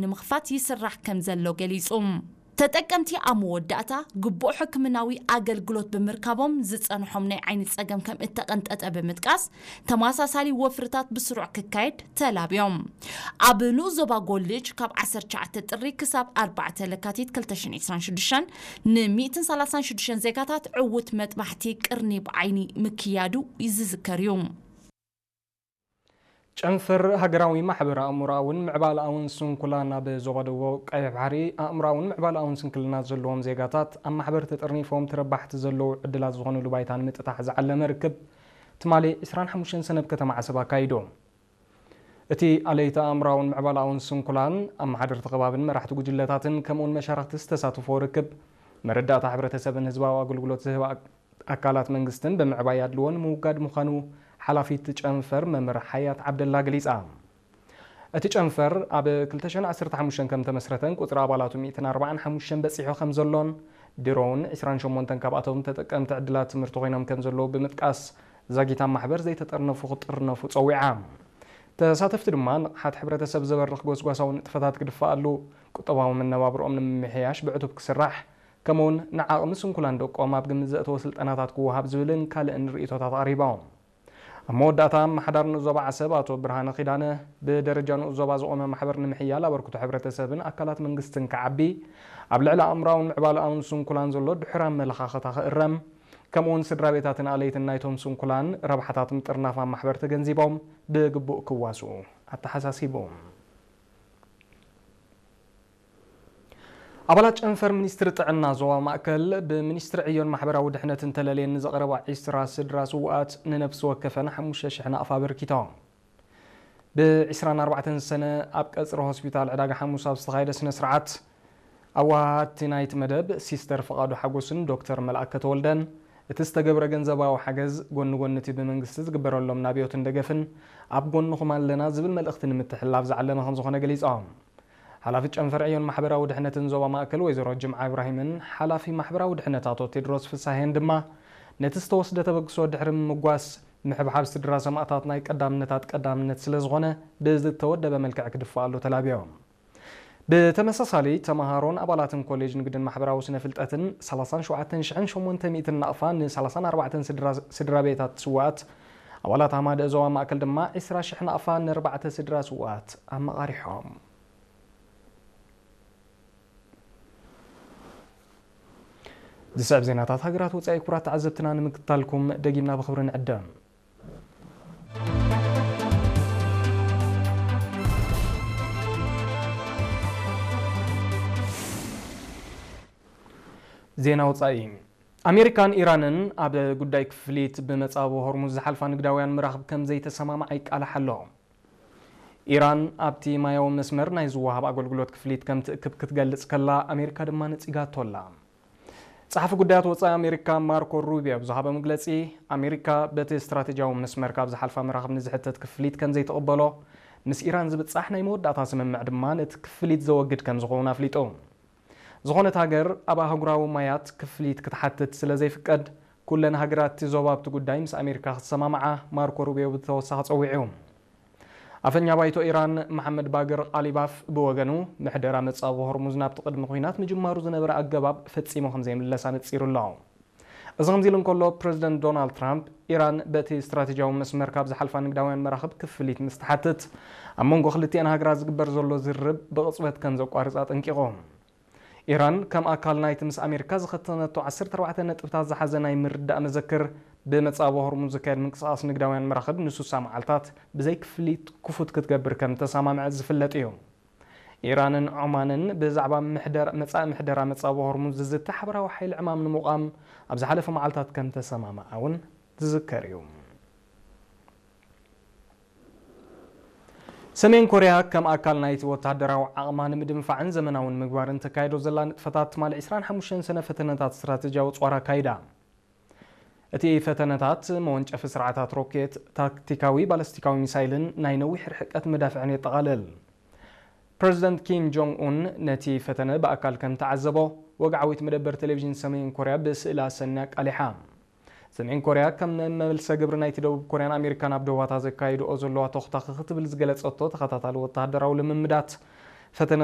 ንምኽፋት ይስራሕ ከም ዘሎ ገሊጹ። ተጠቀምቲ ኣብ መወዳእታ ግቡእ ሕክምናዊ ኣገልግሎት ብምርካቦም ዝጸንሖም ናይ ዓይኒ ጸገም ከም እተቐንጠጠ ብምጥቃስ፣ ተመሳሳሊ ወፍርታት ብስሩዕ ክካየድ ተላብዮም። ኣብ ንኡስ ዞባ ጎልጅ ካብ ዓሰርተ ትሽዓተ ጥሪ ክሳብ ኣርባዕተ ለካቲት ክልተ ሽሕን ዕስራን ሽዱሽተን ን ሚእትን ሰላሳን ሽዱሽተን ዜጋታት ዕዉት መጥባሕቲ ቅርኒ ብዓይኒ ምክያዱ ዝዝከር እዩ። ጨንፈር ሃገራዊ ማሕበር ኣእምሮኣውን ምዕባለኣውን ስንኩላን ኣብ ዞባ ደቡብ ቀይሕ ባሕሪ ኣእምሮኣውን ምዕባለኣውን ስንክልና ዘለዎም ዜጋታት ኣብ ማሕበር ተጠርኒፎም ተረባሕቲ ዘለዉ ዕድላት ዝኾኑሉ ባይታ ንምጥታሕ ዝዓለመ ርክብ ትማሊ ዕስራን ሓሙሽተን ሰነ ኣብ ከተማ ዓሰብ ኣካይዱ። እቲ ኣለይቲ ኣእምሮኣውን ምዕባለኣውን ስንኩላን ኣመሓደርቲ ከባብን መራሕቲ ጉጅለታትን ከምኡውን መሻርኽቲ ዝተሳተፎ ርክብ መረዳእታ ሕብረተሰብን ህዝባዊ ኣገልግሎት ዝህባ ኣካላት መንግስትን ብምዕባይ ኣድልዎ ንምውጋድ ምዃኑ ሓላፊት ጨንፈር መምህር ሓያት ዓብደላ ገሊጻ። እቲ ጨንፈር ኣብ ክልተ ሽሕን ዓሰርተ ሓሙሽተን ከም ተመስረተን ቁጽሪ ኣባላቱ ሚእትን ኣርባዓን ሓሙሽተን በጺሑ ከም ዘሎን ድሮውን ዕስራን ሸሞንተን ካብኣቶም ተጠቀምቲ ዕድላት ትምህርቲ ኮይኖም ከም ዘለዉ ብምጥቃስ ዛጊት ኣብ ማሕበር ዘይተጠርነፉ ክጥርነፉ ጸዊዓ። ተሳተፍቲ ድማ ንቕሓት ሕብረተሰብ ዘበርኽ ጎስጓሳዊ ንጥፈታት ክድፋኣሉ፣ ቁጠባዊ መነባብርኦም ንምምሕያሽ ብዕቱብ ክስራሕ፣ ከምኡውን ንዓቕሚ ስንኩላን ደቆም ኣብ ግምት ዘእተወ ስልጠናታት ክወሃብ ዝብልን ካልእን ርእይቶታት ኣቕሪቦም። ኣብ መወዳእታ ኣመሓዳሪ ንኡስ ዞባ ዓሰብ ኣቶ ብርሃነ ኪዳነ ብደረጃ ንኡስ ዞባ ዝቖመ ማሕበር ንምሕያል ኣበርክቶ ሕብረተሰብን ኣካላት መንግስትን ክዓቢ፣ ኣብ ልዕሊ ኣእምሮኣውን ምዕባለኣውን ስንኩላን ዘሎ ድሑር ኣመለኻኽታ ክእረም፣ ከምኡውን ስድራ ቤታትን ኣለይትን ናይቶም ስንኩላን ረብሓታት ምጥርናፍ ኣብ ማሕበር ተገንዚቦም ብግቡእ ክዋስኡ ኣተሓሳሲቡ። ኣባላት ጨንፈር ሚኒስትሪ ጥዕና ዞባ ማእከል ብሚኒስትሪ ዕዮን ማሕበራዊ ድሕነትን ተለልየን ንዘቕረባ ዕስራ ስድራ ስውኣት ንነፍሲ ወከፈን ሓሙሽተ ሽሕ ናቕፋ ኣበርኪቶም። ብ ዕስራን ኣርባዕተን ሰነ ኣብ ቀጽሪ ሆስፒታል ዕዳጋ ሓሙስ ኣብ ዝተኻየደ ስነ ስርዓት ኣወሃሃድቲ ናይቲ መደብ ሲስተር ፍቓዱ ሓጎስን ዶክተር መልኣከ ተወልደን እቲ ዝተገብረ ገንዘባዊ ሓገዝ ጎኒ ጎኒ እቲ ብመንግስቲ ዝግበረሎም ናብዮትን ደገፍን ኣብ ጎንኹም ኣለና ዝብል መልእኽቲ ንምትሕልላፍ ዝዓለመ ከም ዝኾነ ገሊጾም። ሓላፊት ጨንፈር ዕዮን ማሕበራዊ ድሕነትን ዞባ ማእከል ወይዘሮ ጅምዓ ኢብራሂምን ሓላፊ ማሕበራዊ ድሕነት ኣቶ ቴድሮስ ፍሳሄን ድማ ነቲ ዝተወስደ ተበግሶ ድሕሪ ምምጓስ ምሕብሓብ ስድራ ሰማእታት ናይ ቀዳምነታት ቀዳምነት ስለ ዝኾነ ብዝተወደበ መልክዕ ክድፋኣሉ ተላብዮም። ብተመሳሳሊ ተመሃሮን ኣባላትን ኮሌጅ ንግድን ማሕበራዊ ስነ ፍልጠትን ሰላሳን ሸውዓተን ሽሕን ሸሞንተ ሚእትን ናቕፋ ን ሰላሳን ኣርባዕተን ስድራ ቤታት ስዋኣት ኣባላት ኣማደ ዞባ ማእከል ድማ ዕስራ ሽሕ ናቕፋ ንኣርባዕተ ስድራ ስዋኣት ኣመቓሪሖም። ዝስዕብ ዜናታት ሃገራት ወጻኢ ክቡራት ተዓዘብትና ንምክትታልኩም ደጊምና ብኽብሪ ንዕደም። ዜና ወጻኢ። ኣሜሪካን ኢራንን ኣብ ጉዳይ ክፍሊት ብመጻብቦ ሆርሙዝ ዝሓልፋ ንግዳውያን መራኽብ ከም ዘይተሰማምዓ ይቃላሕ ኣሎ። ኢራን ኣብቲ ማያዊ መስመር ናይ ዝወሃብ ኣገልግሎት ክፍሊት ከም ትእክብ ክትገልጽ ከላ፣ ኣሜሪካ ድማ ነጺጋቶ ኣላ። ጸሓፊ ጉዳያት ወጻኢ ኣሜሪካ ማርኮ ሩቢዮ ኣብ ዝሃቦ መግለጺ፣ ኣሜሪካ በቲ ስትራቴጂያዊ መስመር ካብ ዝሓልፋ መራኽብ ንዝሕተት ክፍሊት ከም ዘይትቕበሎ፣ ምስ ኢራን ዝብጻሕ ናይ መወዳእታ ስምምዕ ድማ ነቲ ክፍሊት ዘወግድ ከም ዝኸውን ኣፍሊጡ። ዝኾነት ሃገር ኣብ ኣህጉራዊ ማያት ክፍሊት ክትሓትት ስለ ዘይፍቀድ፣ ኩለን ሃገራት እቲ ዞባ ኣብቲ ጉዳይ ምስ ኣሜሪካ ክትሰማምዓ ማርኮ ሩቢዮ ብተወሳኺ ጸዊዑ። ኣፈኛ ባይቶ ኢራን መሓመድ ባግር ቃሊባፍ ብወገኑ፣ ምሕደራ መጻብቦ ሆርሙዝ ናብቲ ቅድሚ ኲናት ምጅማሩ ዝነበረ ኣገባብ ፈጺሙ ከም ዘይምለስ ኣነጺሩ ኣሎ። እዚ ከምዚ ኢሉ እንከሎ፣ ፕረዚደንት ዶናልድ ትራምፕ፣ ኢራን በቲ ስትራቴጂያዊ መስመር ካብ ዝሓልፋ ንግዳውያን መራኽብ ክፍሊት ምስ ትሓትት፣ ኣብ መንጎ ክልቲኣን ሃገራት ዝግበር ዘሎ ዝርርብ ብቕጽበት ከም ዘቋርጽ ኣጠንቂቑ። ኢራን ከም ኣካል ናይቲ ምስ ኣሜሪካ ዝኸተመቶ ዓሰርተ ኣርባዕተ ነጥብታት ዝሓዘ ናይ ምርዳእ መዘክር፣ ብመጻብቦ ሆርሙዝ ዝካየድ ምንቅስቓስ ንግዳውያን መራኽብ ንስሳ መዓልታት ብዘይ ክፍሊት ክፉት ክትገብር ከም ተሰማምዐት ዝፍለጥ እዩ። ኢራንን ዖማንን ብዛዕባ ምሕደር-፣ መጻኢ ምሕደራ መጻብቦ ሆርሙዝ ዝዝቲ ሓበራዊ ሓይሊ ዕማም ንምቋም ኣብ ዝሓለፈ መዓልታት ከም ተሰማምዓ እውን ዝዝከር እዩ። ሰሜን ኮርያ ከም ኣካል ናይቲ ወተሃደራዊ ዓቕማ ንምድንፋዕን ዘመናዊ ንምግባርን ተካይዶ ዘላ ንጥፈታት ትማሊ ዕስራን ሓሙሽተን ሰነ ፈተነታት ስትራቴጂያዊ ጾር ኣካይዳ። እቲ ፈተነታት መወንጨፊ ስርዓታት ሮኬት፣ ታክቲካዊ ባለስቲካዊ ሚሳይልን ናይ ነዊሕ ርሕቀት መዳፍዕን የጠቓልል። ፕረዚደንት ኪም ጆንግ ኡን ነቲ ፈተነ ብኣካል ከም ተዓዘቦ፣ ወግዓዊት መደበር ቴሌቪዥን ሰሜን ኮርያ ብስእሊ ኣሰንያ ኣቃሊሓ። ሰሜን ኮርያ ከም መመልሰ ግብሪ ናይቲ ደቡብ ኮርያን ኣሜሪካን ኣብ ዶባታ ዘካይድኦ ዘለዋ ተኹታኺ ክትብል ዝገለጸቶ ተኸታታሊ ወተሃደራዊ ልምምዳት፣ ፈተነ